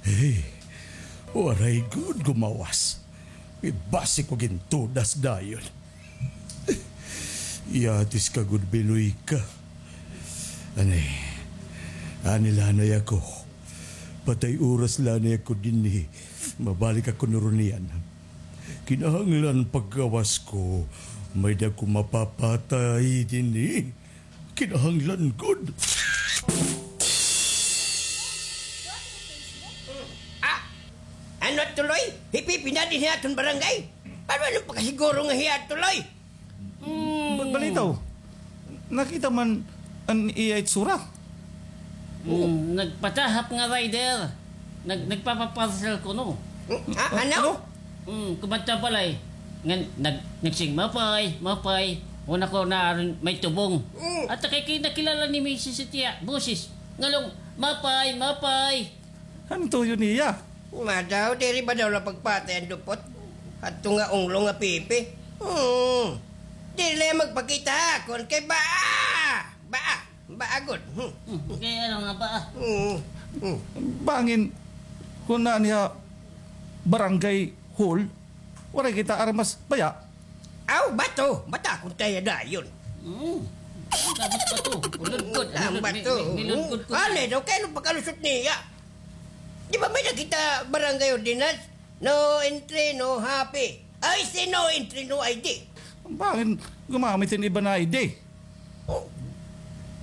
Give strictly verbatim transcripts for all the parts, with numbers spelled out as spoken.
Hey, waray gud gumawas. Ibasi ko gintudas dayon. Yatis ka gud, Biloy ka. Ani, ani la anay ako. Patay oras la anay ako dinhi. Mabalik ako nuron niyan. Kinahanglan paggawas ko, may-ada ko mapapatay dinhi. Kinahanglan gud. Ah! Ano tuloy? Hi Pipi na dinhi ha aton barangay? Paano, ano pagkasiguro nga hiya tuloy? Hmm. Ba-, balitaw, nakita man an iya itsura? Hmm, nagpatahap nga rider. Nag-, nagpapaparcel kuno. Hmm, ah, ano? Ano? Hmm, kumadto ha balay. Ngan, nag-, nagsiring, "Mapay, mapay." Una ko na aron may tubong. Hmm. At kay, kay nakilala ni Misis it iya boses. Ngalong, "Mapay, mapay." Ano tuyo niya? Ma daw, diri ba daw la pagpatay an dupot? Hadto nga unglo nga Pipi. Hmm. Diri la magpakita ha akon kay baa. Baa. Baa gud. Hmm. Hmm, kay ano nga baa? Hmm. Hmm. Bangin, kun na niya barangay hall, waray kita armas baya. Aw, bato. Batakon ta hiya dayon. Hmm. Dapat bato. Uludkod. Ang uludkod. Bato. May, may, may luludkod ko. Ano daw, kay ano pagkalusot niya? Di ba may-ada kita barangay ordinance? No entry, no happy. Ay, si no entry, no I D. Bangin gumamit hin iba nga I D? Oh.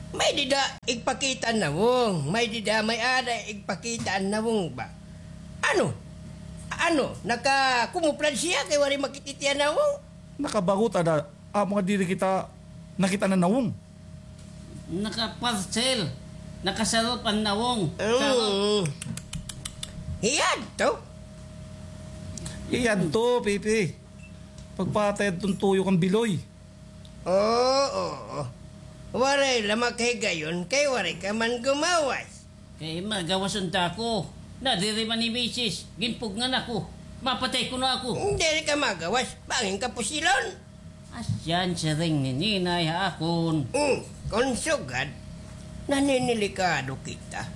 May dida igpakita an nawong. May dida may-ada igpakita an nawong ba? Ano? Ano? Nakakumuplan siya kay waray makit-it iya nawong? Nakabagot ada, amo nga diri kita nakit-an an nawong. Nakaparcel. Nakasarop an nawong. Mm. Sarop. Hiya adto? Hiya adto, Pipi. Pagpatay adton tuyo kan Biloy. Oo, oo. Waray la makahigayon kay waray ka man gumawas. Kay magawas unta ako. Nadiri man hi Misis, ginpugngan ako. Mapatay kuno ako. Diri ka magawas, bangin ka pusilon. Asya an siring ni Ninay ha akon. Hmm, kon sugad, naninilikado kita.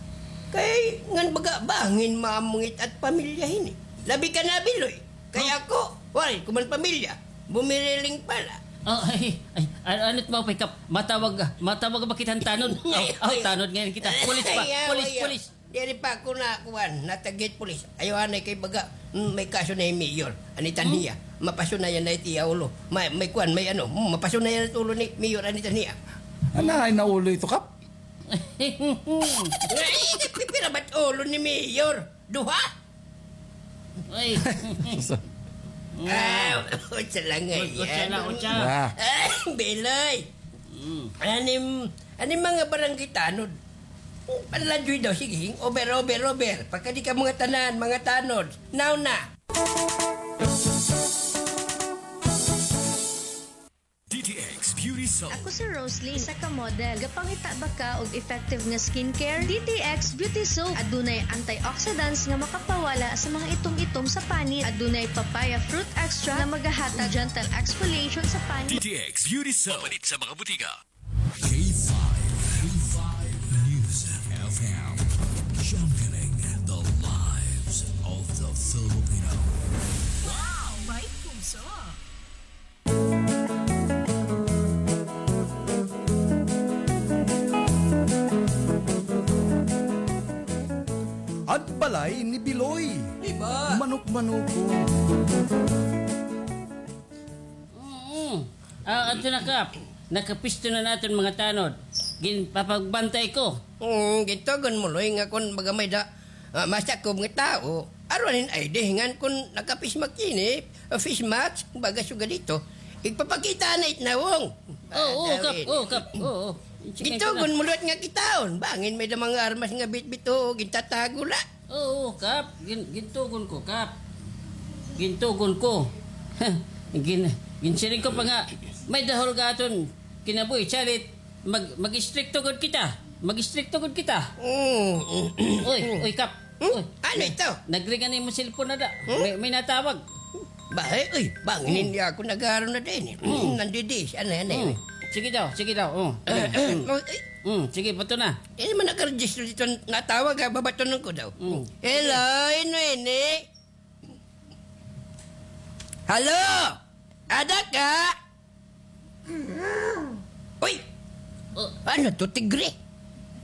Kay ngan baga bangin maamong it-at pamilya hini. Labi ka na, Biloy. Kay ako, waray ko man pamilya. Bumiriling pa la. Ah, ay, ay, ay, ano it mapay, Kap? Matawag, matawag ba kita han tanod? Aw, aw, tanod ngay-an kita. Pulis pa, pulis, pulis. Diri pa ako nakuan, natagit pulis. Ayaw anay kay baga, mm, may kaso na hi Mayor. An it-an hiya, mapasunayan na it iya ulo. May, may kuan, may ano, mm, mapasunayan it ulo ni Mayor, an it-an hiya. Anahay na ulo ito, Kap? Ay, pipira ba't ulo ni Mayor? Duha? Ay. Ah, utsa la ngay-an. Utsa la, utsa. Ah. Ah, Biloy. Mm. Anim, anim mga barangay tanod. Panladyoy daw, sige, over, over, over. Pagkadi ka mga tanan, mga tanod. Now na. D T X Beauty Soap. Ako si Rosalie, isa ka model. Gapangita ba ka og effective nga skincare? D T X Beauty Soap. Adunay antioxidants nga makapawala sa mga itom-itom sa panit. Adunay papaya fruit extract nga magahatag gentle exfoliation sa panit. D T X Beauty Soap. Mapalit sa mga butika. K five, K five News F M, championing the lives of the Filipino. Wow, may puso. An balay ni Biloy. Di ba? Manok-manokon. Mm. Ah, adto na, Kap. Nakapisto na an aton mga tanod. Ginpapagbantay ko. Mm, gintugon mo, Loy, nga kon baga may da, ah, masakob nga tawo, aron hin I D, ngan kon naka-face mask ini, ah, face mask, baga sugad dito, igpapakita na it nawong. Oo, Kap. Oo, Kap. Oo. Gintugon mo liwat nga kitaon. Bangin may da mga armas nga bitbit, oo, gintatago la. Oo, Kap. Gin-, gintugon ko, Kap. Gintugon ko. Gin-, ginsiring ko pa nga, may dahol ka aton kinabuhi, salit, mag-, mag-istrikto gud kita. Mag-istrikto gud kita. Mm. Uy, uy, Kap. Hmm? Uy, ano ito? Nagring an imo cellphone na da. Hmm? May, may natawag. Bahay, uy, bangin niya ako nag-aaron na din eh. Hmm. Nandidi, ano yan eh. Hmm. Sige daw, sige daw. Oh. Mm, mm. Oh, eh. Mm, sige, bato na. Eh, man nakaregister dito, natawag, ha, babatonon ko daw. Mm. Hello, hin-o ini? Hello? Ada ka? Uy! Oh. Ano to, tigre?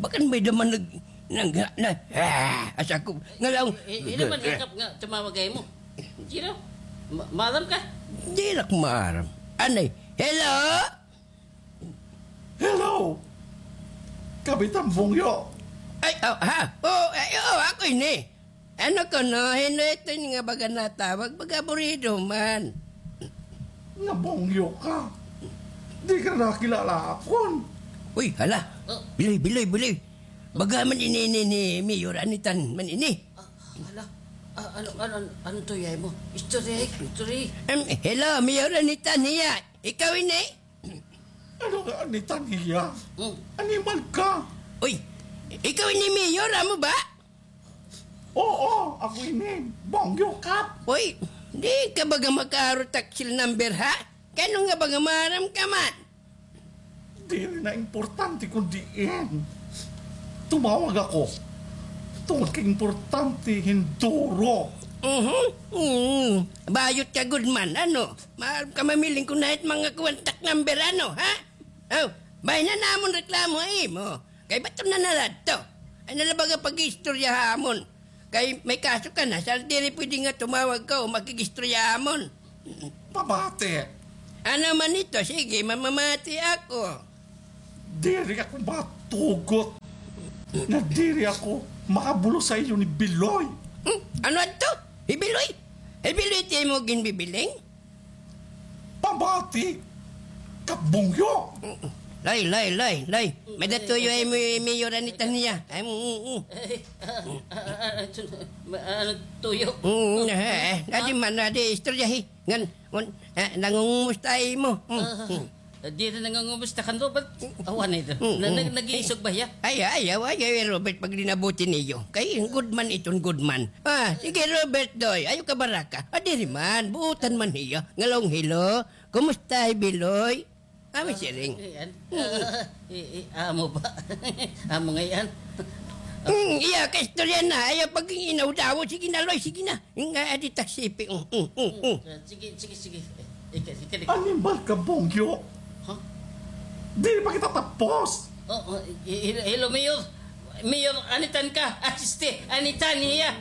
Baka may daman nag-, nag-, na, ah, asa ko, ngalaw. Eh, eh, naman, ikap nga, tumawag kayo mo. Sino? Ma-, maaram ka? Diri ak maaram. Anay, hello? Hello! Kapitan Bongyo! Ay, oh, ha? Oh, ay, oh, ako ini. Ano kuno, hin-o ito nga baga natawag, baga aburido man. Nga Bongyo ka. Di ka nakilala akon. Uy, hala. Oh. Biloy, Biloy, Biloy. Baga man ini, ini, ni Mayor Anitan man ini. Ah, hala. Ah, ano, ano, ano, ano to, yay mo? History, history. Em, hello, Mayor Anitan hiya. Ikaw ini? Ano nga Anitan hiya? Hmm. Animal ka. Uy, ikaw ini Mayor, amo ba? Oo, ako ini. Bongyo Kap. Uy, di ka baga makaaro taksil number, ha? Kay ano nga baga maaram ka man? Diri na importante kon diin. Tumawag ako. Tungod kay importante hin duro. Mhm. Mm. Bayot ka gud man, ano? Maaram ka mamiling kon hain it mga contact number, ano, ha? Oh, bahin na namon reklamo ha imo. Kay baton na na la adto. Ayaw na la baga pag-iistorya ha amon. Kay may kaso ka na, sa diri pwede nga tumawag ka o makig-istorya ha amon. Pamati. Ano man ito? Sige, mamamati ako. Diri ako matugot nga diri ako makabulos ha iyo ni Biloy. Hmm? Ano adto? Hi Biloy? Hi Biloy it imo ginbibiling? Pamati, Kap Bongyo. Lay, lay, lay, lay. May-ada tuyo ha imo, Mayor Anitan hiya. Ay, mm, mm, mm. Eh, ah, ah, ah, ano, ano, tuyo? Mm, eh, eh. Adi man, adi, istoryahi. Ngan, un-, eh, nangungumusta ha imo. Mm, mm. Ah, diri nangungumusta kan Robert. Awa na ito. Mm, mm. Na, na, nag-iisog ba hiya? Ay, ay, ay, ay, ay, Robert, paglinabuti niyo. Kay good man iton, good man. Ah, sige, Robert, doy. Ayaw kabaraka. Ah, diri man. Buotan man hiya. Ngalaw hin hello. Kumusta, hi Biloy? Amo siring. Ah, ayan. Mm. Ah, i-, i-, amo ba? Amo ngay-an. Mm, iya, kaistorya na. Ayaw pag-inawdaw. Sige na, Loy. Sige na. Nga, adi taksipi. Mm, mm, mm, mm. Ah, sige, sige, sige. Eh, ika, ika, ika. Animal ka, Bongyo. Ha? Diri pa kita tapos. Oh, oh, i-, i-, hello, Mayor. Mayor, Anitan ka. Asiste, Anitan hiya.